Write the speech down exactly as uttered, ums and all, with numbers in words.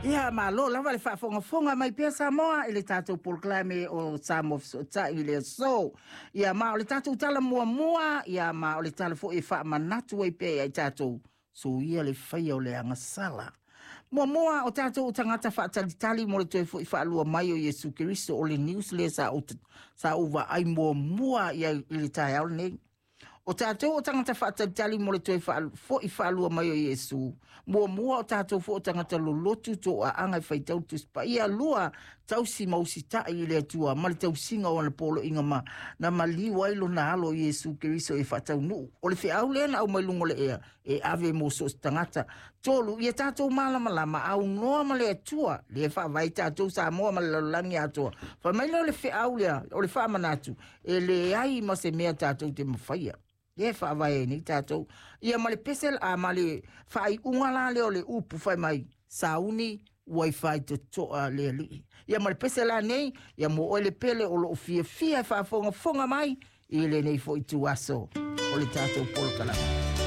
Ia malo lava le faafogafoga mai pea Samoa i le tatou polokalame o Samoa Fesootai i le aso. Ia ma o le tatou tala muamua, ia ma o le tala foi e faamanatu ai pea ia i tatou, soia le faia o le agasala. Muamua o tatou tagata faatalitali mo le toe foi faalua mai o Iesu Keriso, o le news lea sa ou, sa ou vaai muamua ia i le taeao lenei. O tatou o tagata faatalitali mo le toe foi faalua mai o Iesu. Muamua o tatou foi o tagata lolotu to aaga e faitau Tusi Paia. Lua, tausi ma usitai i le Atua ma le tausiga o ana poloaiga ma na maliu ai lona alo Iesu Keriso e faataunuu. O le feau lea na aumai luga o le ea e ave mo so o se tagata. Tolu, ia tatou malamalama aunoa ma le Atua lea e faavae tatou Samoa ma le lalolagi atoa. Fai mai lea o le feau lea, o le faamanatu, e leai ma se mea tatou te mafaia. Lea e faavae ai nei tatou. Ia ma le pese a ma le faaiuga la lea o le upu fai mai, sauni ua i faitotoa le alii. Ia ma le pese la nei, ia mo oe le pele o loo fiafia e faafogafoga mai i lenei foi tuaso o le tatou polokalame.